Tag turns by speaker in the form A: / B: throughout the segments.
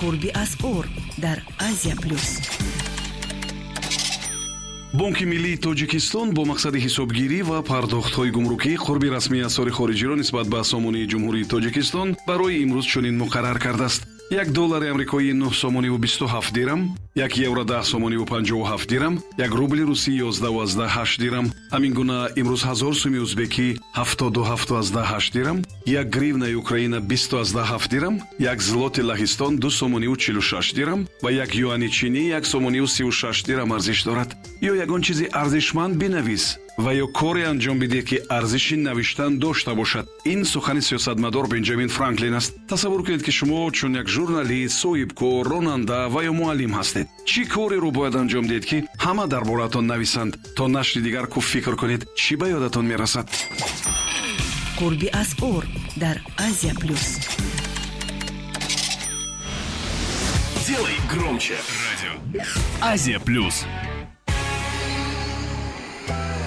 A: Қурби асъор дар Азия Плюс.
B: Бонки миллии Тоҷикистон бо мақсади ҳисобгирӣ ва пардохтҳои гумрукӣ қурби расмии асъори хориҷиро нисбат ба сомонии Ҷумҳурии Тоҷикистон барои имрӯз чунин муқаррар кардааст: 1 доллари амрикоӣ 9 сомониву 27 дирам, 1 евро 10 сомониву 57 дирам, 1 рубли русӣ 11,8 дирам. Ҳамин гуна имрӯз 1000 суми узбекӣ 77,8 дирам, 1 гривнаи Украина 20,7 дирам, 1 злоти Лаҳистон 2 сомониву 46 дирам ва 1 юани чинӣ 1 сомониву 36 дирам арзиш дорад. Ё ягон чизи арзишманд бинавис ва ё коре анҷом бидиҳ, ки арзиши навиштан дошта бошад. Ин сухани сиёсатмадор Бенҷамин Франклин аст. Тасаввур кунед, ки шумо чун як журналист, соҳибкор, ронанда ва ё муаллим ҳастед. Чӣ кореро бояд анҷом диҳед, ки ҳама дар бораатон нависанд? То нашри дигар хуб фикр кунед, чӣ ба ёдатон мерасад.
A: Қурби асъор дар Азия Плюс.
C: Делай громче. Радио Азия Плюс.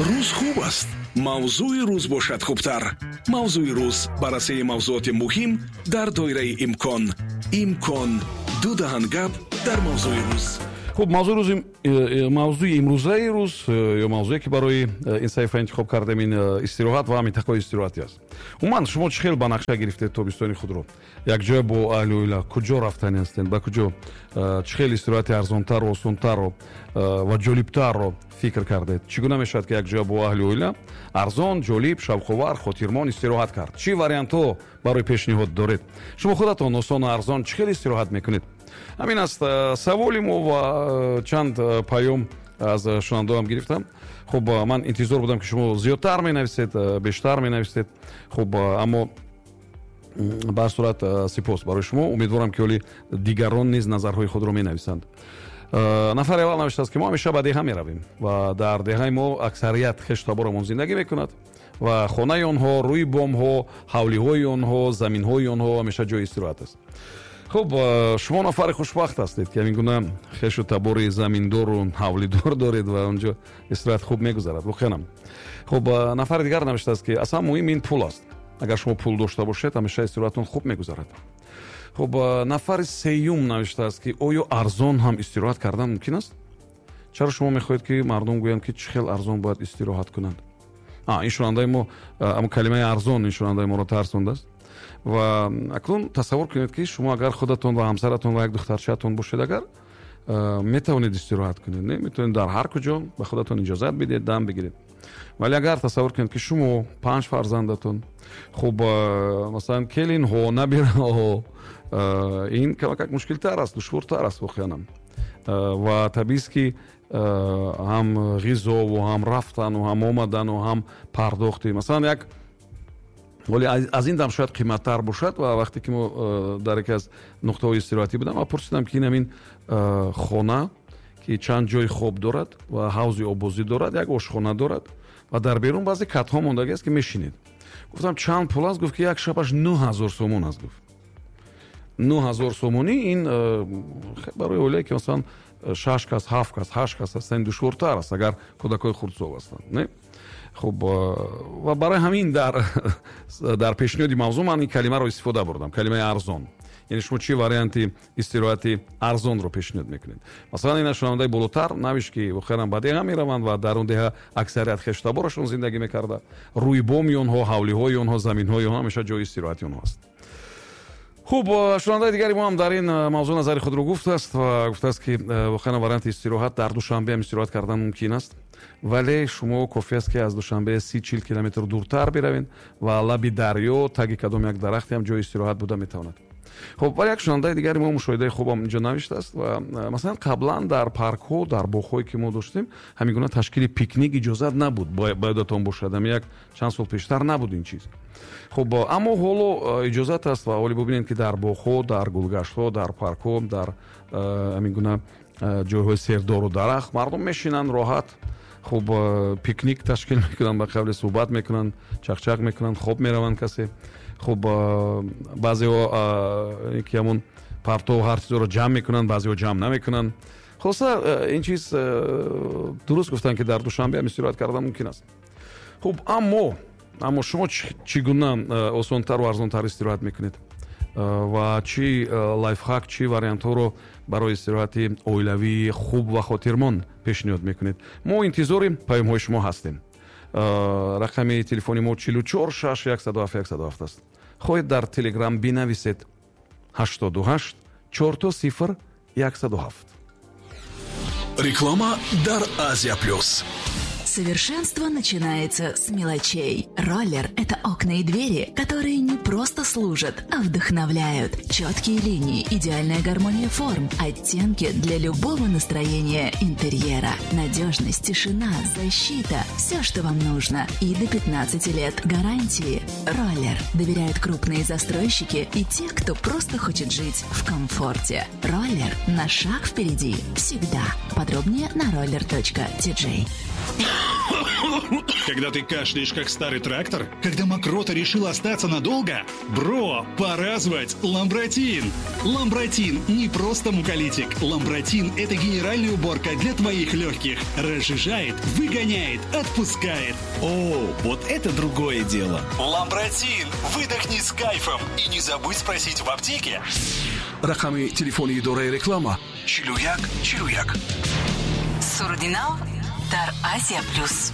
B: Рӯз хуб аст, мавзӯи рӯз бошад хубтар. Мавзӯи рӯз: баррасии мавзӯоти муҳим дар доираи имкон. Имкон ду даҳан гап дар мавзӯи рӯз.
D: Хуб, мавзӯи рӯзи, мавзӯи имрӯзаи рӯз ё мавзӯе, ки барои ин саҳифа интихоб кардем, ин истироҳат ва минтақаҳои истироҳатӣ аст. Умуман, шумо чӣ хел ба нақша гирифтед тобистони худро? Якҷоя бо аҳли оила куҷо рафтанӣ ҳастед, ба куҷо, чӣ хел истироҳати арзонтару осонтарро ва ҷолибтарро фикр кардед? Чӣ гуна мешавад, ки якҷоя бо аҳли оила арзон, ҷолиб, шавқовар, хотирмон истироҳат кард? Чӣ вариантҳо барои пешниҳод доред? Шумо худатон осону арзон чӣ хел истироҳат мекунед? Ҳамин аст саволи мо ва чанд паём аз шунавандаам гирифтам. Хуб, ман интизор будам, ки шумо зиёдтар менависед, бештар менависед. Хуб, аммо ба ҳар сурат сипос барои шумо. Умедворам, ки ҳоли дигарон низ назарҳои худро менависанд. Нафари аввал навиштааст, ки мо ҳамеша ба деҳа меравем ва дар деҳаи мо аксарият хештаборамон зиндагӣ мекунад ва хонаи онҳо, рӯи бомҳо, ҳавлиҳои онҳо, заминҳои онҳо ҳамеша ҷои истироҳат аст. Хуб, шумо нафари хушбахт ҳастед, ки ҳамин гуна хешу табори заминдору ҳавлидор доред ва онҷо истироҳат хуб мегузарад воқеанам. Хуб, нафари дигар навиштааст, ки аслан муҳим ин пул аст. Агар шумо пул дошта бошед, ҳамеша истироҳатон хуб мегузарад. Хуб, нафари сеюм навиштааст, ки оё арзон ҳам истироҳат кардан мумкин аст? Чаро шумо мехоҳед, ки мардум гӯянд, ки чӣ хел арзон бояд истироҳат кунанд? Ин шунавандаи мо, ҳамн калимаи арзон ин шунавандаи моро тарсондааст. Ва акнун тасаввур кунед, ки шумо агар худатон ва ҳамсаратон ва як духтарчаатон бошед, агар метавонед истироҳат кунед, не, метавонед дар ҳар куҷо ба худатон иҷозат бидиҳед, дам бигиред. Вале агар тасаввур кунед, ки шумо, панҷ фарзандатон, хуб, масалан, келинҳо, набираҳо, ин камакак мушкилтар аст, душвортар аст воқеанам. Ва табиист, ки ҳам ғизову, ҳам рафтану, ҳам омадану, ҳам пардохти, масалан, як вале аз ин дам шояд қиматтар бошад. Ва вақте ки мо дар яке аз нуқтаҳои истироҳатӣ будам ва пурсидам, ки ин ҳамин хона, ки чанд ҷои хоб дорад ва ҳавзи оббозӣ дорад, як ошхона дорад ва дар берун баъзе катҳо мондагӣ аст, ки мешинед, гуфтам, чанд пул аст? Гуфт, ки як шабаш 9000 сомон аст. Гуфт, 9000 сомонӣ ин барои оилае, ки масалан шаш кас, ҳафт кас, ҳашт кас ҳастанд, душвортар аст, агар кӯдакҳои хурдсол ҳастанд, не? Хуб, ва барои ҳамин дар пешниҳоди мавзӯъ ман ин калимаро истифода бурдам, калимаи арзон. Яъне шумо чӣ варианти истироҳати арзонро пешниҳод мекунед? Масалан, ина шунавандаи болотар навишт, ки воқеан ба деҳа мераванд ва дар он деҳа аксарият хештаборашон зиндагӣ мекарда, рӯи боми онҳо, ҳавлиҳои онҳо, заминҳои онҳо ҳамеша ҷои истироҳати онҳо аст. Хуб, шунавандаи дигари мо ҳам дар ин мавзӯъ назари худро гуфтааст ва гуфтааст, ки воқеан варианти истироҳат дар Душанбе ҳам истироҳат кардан мумкин аст, вале шумо кофӣ аст, ки аз Душанбе 30-40 километр дуртар биравед ва лаби дарё, таги кадом як дарахте ҳам ҷои истироҳат буда метавонад. Хуб, вале як шунавандаи дигари мо мушоҳидаи хубам инҷо навиштааст ва масалан, қаблан дар паркҳо, дар боғҳое, ки мо доштем, ҳамин гуна ташкили пикник иҷозат набуд. Ба ёдатон бошад, ҳами як чанд сол пештар набуд ин чиз. Хуб, аммо ҳоло иҷозат аст ва ҳоле бубинед, ки дар боғҳо, дар гулгаштҳо, дар паркҳо, дар ҳамин гуна ҷойҳои сердору дарахт мардум мешинанд роҳат. Хуб, пикник ташкил мекунанд, ба қавле суҳбат мекунанд, чақчақ мекунанд, хоб мераванд касе. Хуб, баъзеҳо ки ҳамон партову ҳар чизоро ҷамъ мекунанд, баъзеҳо ҷамъ намекунанд. Хулоса, ин чиз дуруст гуфтанд, ки дар Душанбе ҳам истироҳат кардан мумкин аст. Хуб, аммо шумо чӣ гуна осонтару арзонтар истироҳат мекунед? Ва чӣ лайфхак, чӣ вариантҳоро барои истироҳати оилавии хуб ва хотирмон пешниҳод мекунед? Мо интизори паёмҳои шумо ҳастем. Рақами телефони мо 44 6 107 107 аст. Хоҳед, дар Телеграм бинависед: 88 4 0 107.
B: Реклама дар Азия Плюс.
E: Совершенство начинается с мелочей. Роллер – это окна и двери, которые не просто служат, а вдохновляют. Четкие линии, идеальная гармония форм, оттенки для любого настроения интерьера. Надежность, тишина, защита – все, что вам нужно. И до 15 лет гарантии. Роллер доверяют крупные застройщики и те, кто просто хочет жить в комфорте. Роллер на шаг впереди всегда. Подробнее на roller.tj.
F: Когда ты кашляешь, как старый трактор? Когда мокрота решила остаться надолго? Бро, пора звать Ламбратин! Ламбратин не просто муколитик. Ламбратин – это генеральная уборка для твоих легких. Разжижает, выгоняет, отпускает.
C: О, вот это другое дело.
F: Ламбратин! Выдохни с кайфом. И не забудь спросить в аптеке.
B: Рақами телефони идораи реклама: 41 41.
A: Суруди нав дар Азия Плюс.